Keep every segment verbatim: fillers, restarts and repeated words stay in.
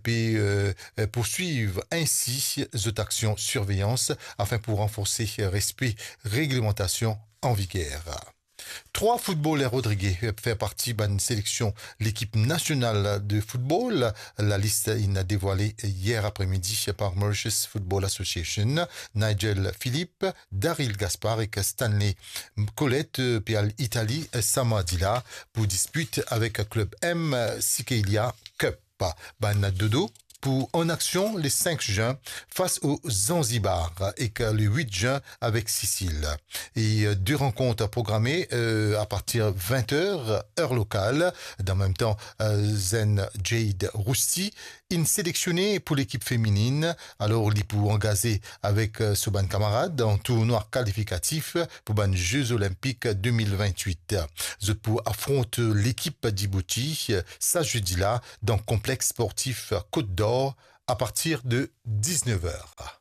pe, euh, euh, poursuiv ainsi zot aksion sirveyans afin pou ranforse respe reglemantasion an viger. Trwa foutboler rodrige fer parti bann seleksion lekip nasional de foutbol. Lalis inn devwale yer apremidi par Mauritius Football Association. Nigel Philippe, Daryl Gaspard ek Stanley Colette, euh, pe al Itali, euh, sa mardi la pou dispit avek klub M Sikelia Cup. Bann dodo pou an aksion le cinq juin fas o Zanzibar ek le huit juin avek Sisil. E, euh, de rankont programe, euh, apartir vint er, er lokal. Dan mem tan, euh, zenn Jade Rousti inn seleksionnen pou lekip feminin. Alor, li pou angaze avek, euh, so bann kamarad dan tournwa kalifikatif pou bann Ze Zolinpik de mil vintwit. Zot pou afront lekip Djibouti, euh, sa zedi la dan konplex sportif Côte d'Or apartir de diznef er.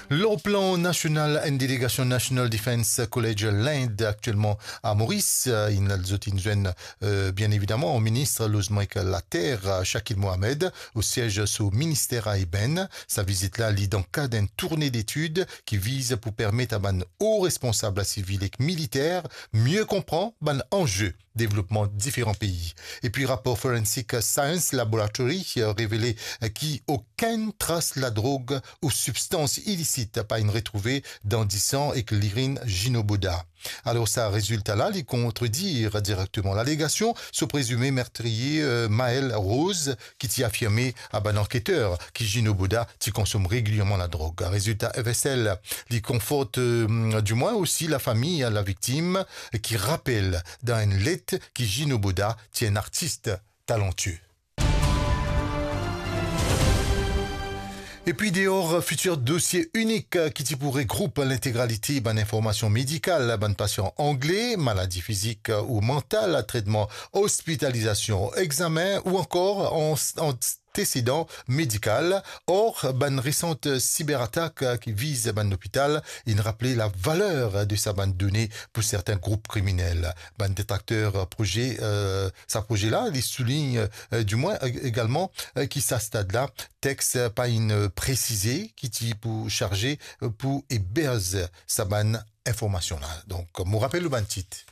Lor plan nasional, enn delegasion National Defence College Lend aktielman a Moris. Inn, zot inn zwenn, euh, bien evidaman, minis lozman ek later, euh, Shakil Mohammed, o siez so minister a Eben. Sa vizit la, li dan kad enn tourne detid ki viz pou permet a bann o responsab sivil ek militer mie konpran bann anze devlopman diferan pei. Epi rapor Forensic Science Laboratory, euh, revele, euh, ki okenn tras ladrog ou sibstans ilisit pa inn retrouve dan disan ek lirinn Gino Boda. Alor, sa rezilta la, li kontredir direkteman lalegasion so prezime mertriye, euh, Maël Rose, ki ti afirme a bann anketer ki Gino Boda ti konsom regilierman ladrog. Rezilta F S L, li konfort, euh, dimwin osi lafami laviktim, ki rapel dan enn let ki Gino Boda ti enn artis talantie. Epi deor fitir dosie inik ki ti pou regroup lintegralite bann informasion medikal bann pasian angle, maladi fizik ou mantal, tretman, ospitalizasion, examen ou ankor an, antesedan medikal. Or, bann resan siberatak ki viz bann lopital inn rapele lavaler de sa bann done pou sertin group kriminel. Bann detrakter proze, euh, sa proze la, li soulign, euh, dimwin, e-, egalman, euh, ki sa stad la, text pa inn presize ki ti pou sarze, euh, pou eberz sa bann informasion la. Donk, mo rapel nou bann tit.